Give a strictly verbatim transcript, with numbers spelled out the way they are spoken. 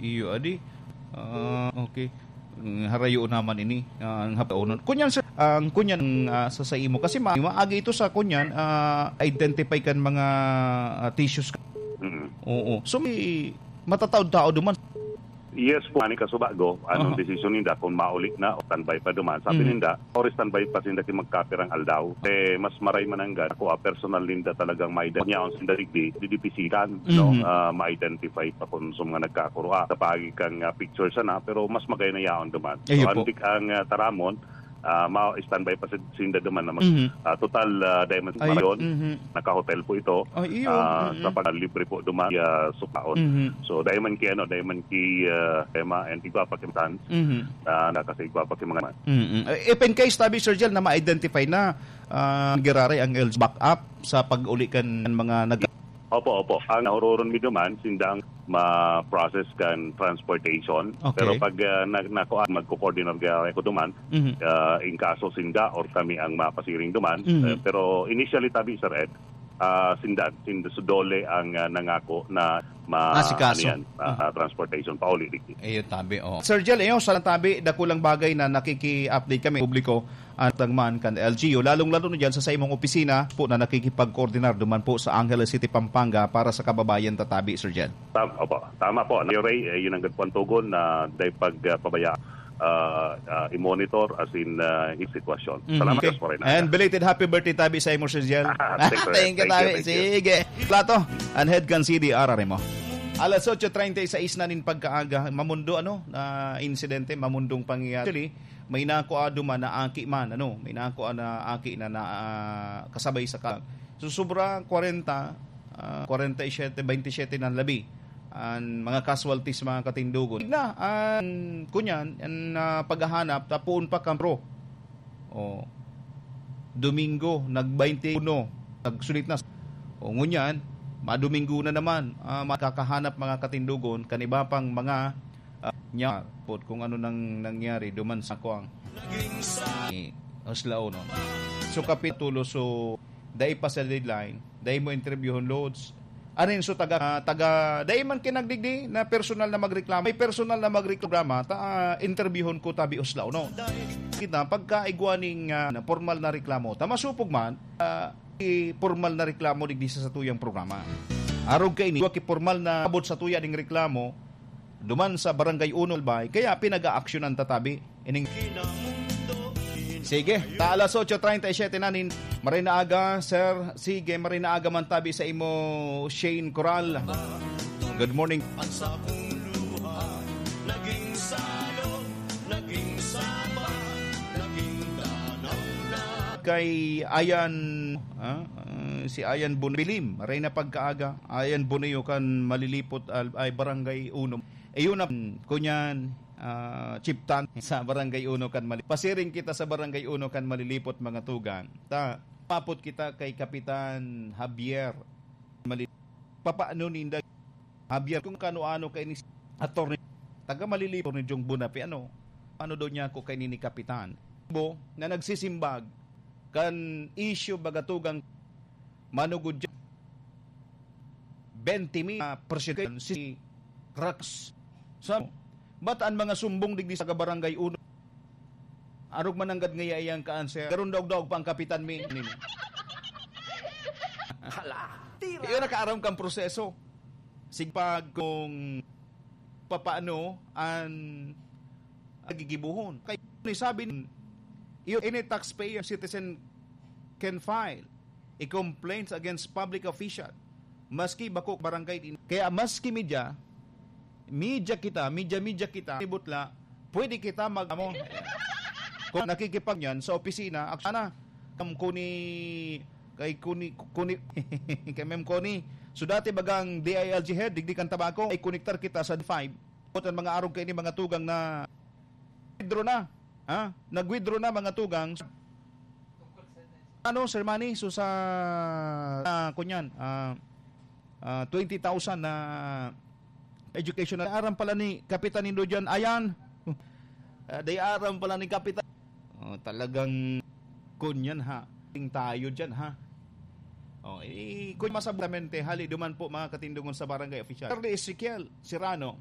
Iyo, adi. Ah, okay. Mm, harayo naman ini, ah, ang hapaunon. Kunyan, sir, ang kunyan, ah, sa, sa imo. Kasi ma-, maagi ito sa kunyan, ah, identify kan mga, ah, tissues. Mm. Oo. So, may matataod tao duman. Yes po, ani kasubago, anong Oo. desisyon ninda kung mauli na o standby pa duman? Sabi Mm. ninda, or standby pa sinda ki magkapirang aldaw. Eh, mas maray mananggad, ako, ah, personal ninda talagang may niyaon sinda digdi, didipisitan, no? Mhm. Ah, ma-identify pa kung sa mga nagkakurua. Sa pagi kang, ah, picture sana, pero mas magay na yaon duman. Iyo So, po. andik ang, ah, Taramon, ah, ma-standby pa si-, sinda duman na mag-, Mhm. ah, total, ah, dahil man Ay, marayon, mhm. naka-hotel po ito, Ay, iyo. ah, Mhm. sa paglibre po duman, ah, sukaon. Mhm. So, dahil man ki, ano, dahil man ki, ah, Emma and igwa pa ki Tan, Mhm. ah, na kasi igwa pa ki mga man. Mhm. Eh, if in case, tabi, Sir Jel, na ma-identify na, ah, giraray ang L G back up sa pag-uli kan mga nag- Opo, opo. Ang nauroron mi duman, sindang ma-process kan transportation. Okay. Pero pag, ah, na-, nakuha, magko-coordinate kaya ko duman, Mhm. ah, in kaso sinda or kami ang mapasiring duman. Mhm. Eh, pero initially, tabi, Sir Ed, ah, sinda, sinda, so dole ang, ah, nangako na ma-, Asikaso. ano yan, ah, Mhm. transportation pauli, digdi. Iyo, tabi, oh. Sir Jel, iyo, sa tabi, dakulang bagay na nakiki-update kami, publiko, at tagman kan L G U, lalong-lalo na dyan sa, sa imong opisina po na nakikipagkoordinar duman po sa Angeles City, Pampanga para sa kababayan tatabi, Sir Jel. Tam-, opo, tama po. Yo, Ray, eh, yun ang gagawin tugon na dahil pag, ah, pabaya, ah, ah, i-monitor as in, ah, yung sitwasyon. Mhm. Salamat Okay. po rin. And belated happy birthday tabi sa imo, Sir Jel. Thank you, Thank you, thank you, tabi. thank you. Sige. Plato, and head kan C D R mo. Alas otso treinta y seis na nin pagkaaga, mamundo, ano, na insidente, mamundong pangyayari. Actually, may nakua duman na aki man, ano, may nakua na aki na, na, ah, kasabay sa ka-, so, sobra kwarenta, ah, kwarenta y siyete, baynte siyete na labi an mga casualties, mga katindogon. Na, an, kunyan, an, ah, paghahanap, tapuon pa kan pro. Oh. Domingo, nag-baynte uno, nagsulit na. O, ngunyan, madomingo na naman, ah, makakahanap, mga katindogon, kan iba pang mga, ah, nya-, pot kung ano nang nangyari duman sa kuwang. Eh, Oslao, no? So, kapitulo, so, dai pa sa deadline, dai mo interviewon loads. Anin, so, taga, ah, taga, dai man kinagdigdi na personal na magreklamo. May personal na magreklamo, ta, ah, interviewon ko tabi Oslao, no? Kita, pagka igwa ning, ah, formal na reklamo, ta masupog man, ah, i-, formal na reklamo digdi sa satuyang programa. Arog kaini, wa ki formal na abot sa tuya ding reklamo, duman sa Barangay Uno, Albay, kaya pinag-aaksyonan tatabi. Ining, sige, ta alas otso treinta y siete na nin, maray na aga, sir. Sige, maray na aga man tabi sa imo, Shane Coral. Good morning. Ang sakong luha, naging salong, naging saba, naging danaw na. Kay Ayan, ah, ah, si Ayan Bonbilim, maray na pagkaaga. Ayan Boneo kan Malilipot, al-, ay, Barangay Uno. Ayun na, kunyan, ah, Chief Tan sa Barangay Uno kan Mali-, pasiring kita sa Barangay Uno kan Malilipot, mga tugang. Ta, papot kita kay Kapitan Javier Mali-, papaano ninda, Javier, kung kano-ano kay ni Attorney, taga Malilipot ni Jong Bunapi, ano? Ano daw niya ako kay ni, ni Kapitan? Bo, na nagsisimbag kan issue, baga tugang manugod dyan. Twenty mil, ah, percent si Rax. Sa, ba't ang mga sumbong digdi sa Barangay Uno? Arog mananggad ngaya iyang ka-answer. Pero daog-daog pa ang kapitan mi. Hala, tira. Iyo nakaaram kang proseso. Sigpag kung papaano ang nagigibuhon. Kay, sabi, iyo, any taxpayer, citizen can file a complaints against public official, maski bako barangay din. Kaya maski media, media kita, media, media kita, ibutla, pwede kita mag-, amo. Kung nakikipag-, yan sa opisina, ak-, sana, kam-, kuni, kay kuni, kuni, kay Ma'am Connie. So, dati bagang D I L G head, digdi kan Tabaco, ay konektar kita sa D five. Ang mga arog kaini, mga tugang na withdraw na. Ha? Nag-withdraw na, mga tugang. Ano, Sir Manny? So, sa, ah, kunyan, ah, ah, twenty thousand na education na aram pala ni Kapitan Indo dyan. Ayan. Ah, day aram pala ni Kapitan. Oh, talagang kunyan, ha. Ting tayo dyan, ha. Oh, eh, kung masabutamente, hali duman po, mga katindogon, sa barangay official. Sir Ezekiel Serrano,